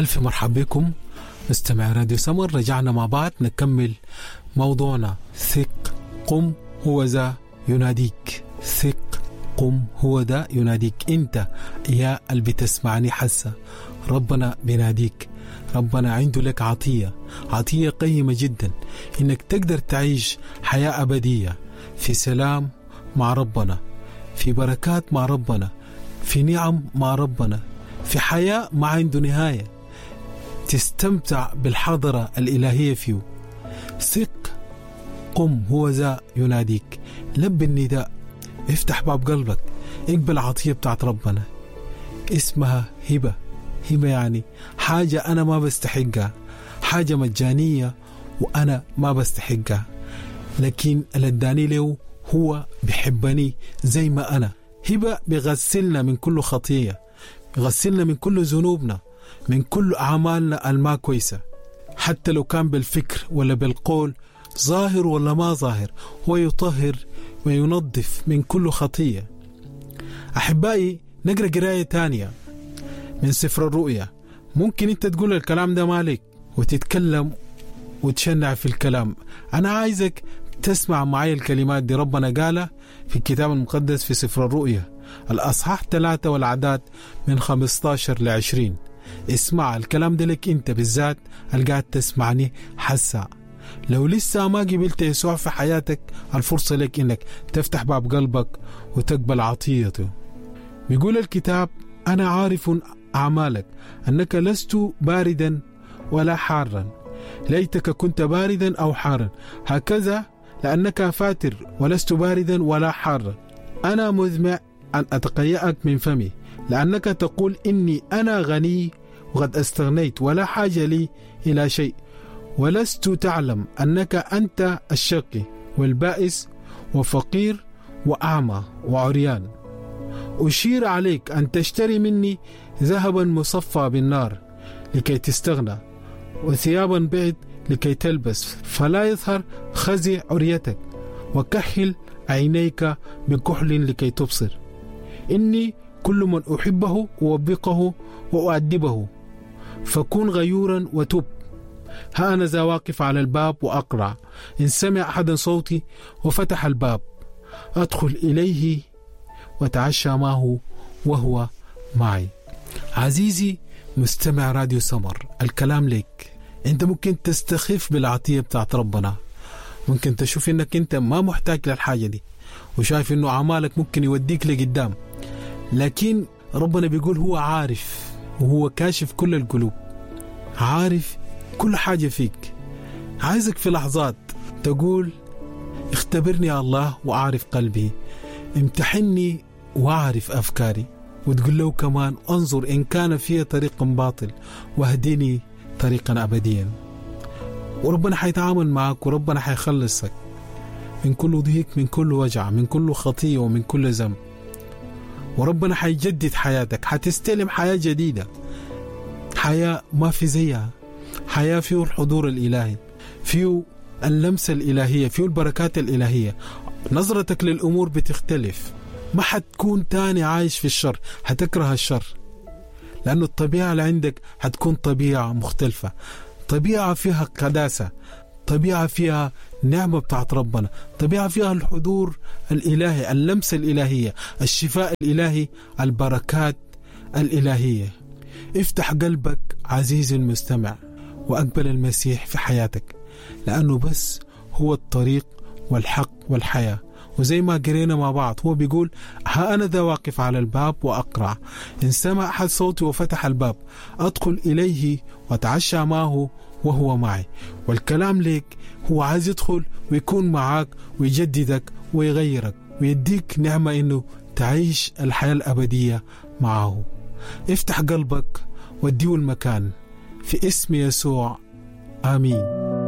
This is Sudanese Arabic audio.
ألف مرحب بكم مستمع راديو سمر. رجعنا مع بعض نكمل موضوعنا. ثق قم هو ذا يناديك. ثق قم هو ذا يناديك. انت يا اللي بتسمعني حسا، ربنا بيناديك. ربنا عنده لك عطية، عطية قيمة جدا، انك تقدر تعيش حياة أبدية في سلام مع ربنا، في بركات مع ربنا، في نعم مع ربنا، في حياة ما عنده نهاية، تستمتع بالحضرة الإلهية فيه. ثق قم هو ذا يناديك. لب النداء، افتح باب قلبك، اقبل عطية بتاعت ربنا اسمها هبة. هبة يعني حاجة أنا ما بستحقها، حاجة مجانية وأنا ما بستحقها، لكن اللي اداني له هو بحبني زي ما أنا. هبة بيغسلنا من كل خطية، بيغسلنا من كل ذنوبنا، من كل أعمالنا الما كويسة، حتى لو كان بالفكر ولا بالقول، ظاهر ولا ما ظاهر، هو يطهر وينظف من كل خطية. أحبائي، نقرأ قراية تانية من سفر الرؤيا. ممكن أنت تقول الكلام ده مالك وتتكلم وتشنع في الكلام. أنا عايزك تسمع معي الكلمات دي ربنا قالها في الكتاب المقدس في سفر الرؤيا الأصحاح 3 والعداد من 15 ل20. اسمع الكلام ده لك أنت بالذات اللي قاعد تسمعني حسا. لو لسه ما قبلت يسوع في حياتك، الفرصة لك إنك تفتح باب قلبك وتقبل عطيته. بيقول الكتاب: أنا عارف أعمالك، أنك لست باردا ولا حارا، ليتك كنت باردا أو حارا. هكذا لأنك فاتر ولست باردا ولا حارا. أنا مزمع أن أتقيأك من فمي، لأنك تقول إني أنا غني وقد استغنيت ولا حاجة لي إلى شيء، ولست تعلم أنك أنت الشقي والبائس وفقير وأعمى وعريان. أشير عليك أن تشتري مني ذهبا مصفى بالنار لكي تستغنى، وثيابا بيض لكي تلبس فلا يظهر خزي عريتك، وكحل عينيك بكحل لكي تبصر. إني كل من أحبه أوبقه وأؤدبه، فكن غيورا وتب. ها أنا ذا واقف على الباب وأقرع، إن سمع أحدا صوتي وفتح الباب أدخل إليه وأتعشى معه وهو معي. عزيزي مستمع راديو سمر، الكلام لك. أنت ممكن تستخف بالعطية بتاعت ربنا، ممكن تشوف إنك أنت ما محتاج للحاجة دي، وشايف إنه أعمالك ممكن يوديك لقدام، لكن ربنا بيقول هو عارف، وهو كاشف كل القلوب، عارف كل حاجة فيك. عايزك في لحظات تقول اختبرني يا الله وأعرف قلبي، امتحني وأعرف أفكاري، وتقول له كمان انظر إن كان في طريق باطل واهدني طريقا أبديا. وربنا حيتعامل معك، وربنا حيخلصك من كل ضيق، من كل وجع، من كل خطية، ومن كل ذنب. وربنا حيجدد حياتك، حتستلم حياة جديدة، حياة ما في زيها، حياة فيه الحضور الإلهي، فيه اللمسة الإلهية، فيه البركات الإلهية. نظرتك للأمور بتختلف، ما حتكون تاني عايش في الشر، حتكره الشر، لأنه الطبيعة اللي عندك حتكون طبيعة مختلفة، طبيعة فيها قداسة، طبيعة فيها نعمة بتاعت ربنا، طبيعة فيها الحضور الإلهي، اللمسة الإلهية، الشفاء الإلهي، البركات الإلهية. افتح قلبك عزيزي المستمع وأقبل المسيح في حياتك، لأنه بس هو الطريق والحق والحياة. وزي ما قرينا مع بعض هو بيقول ها أنا ذا واقف على الباب وأقرع، إن سمع أحد صوتي وفتح الباب أدخل إليه وأتعشى معه وهو معي. والكلام لك، هو عايز يدخل ويكون معاك ويجددك ويغيرك ويديك نعمة إنه تعيش الحياة الأبدية معه. افتح قلبك واديه المكان في اسم يسوع، آمين.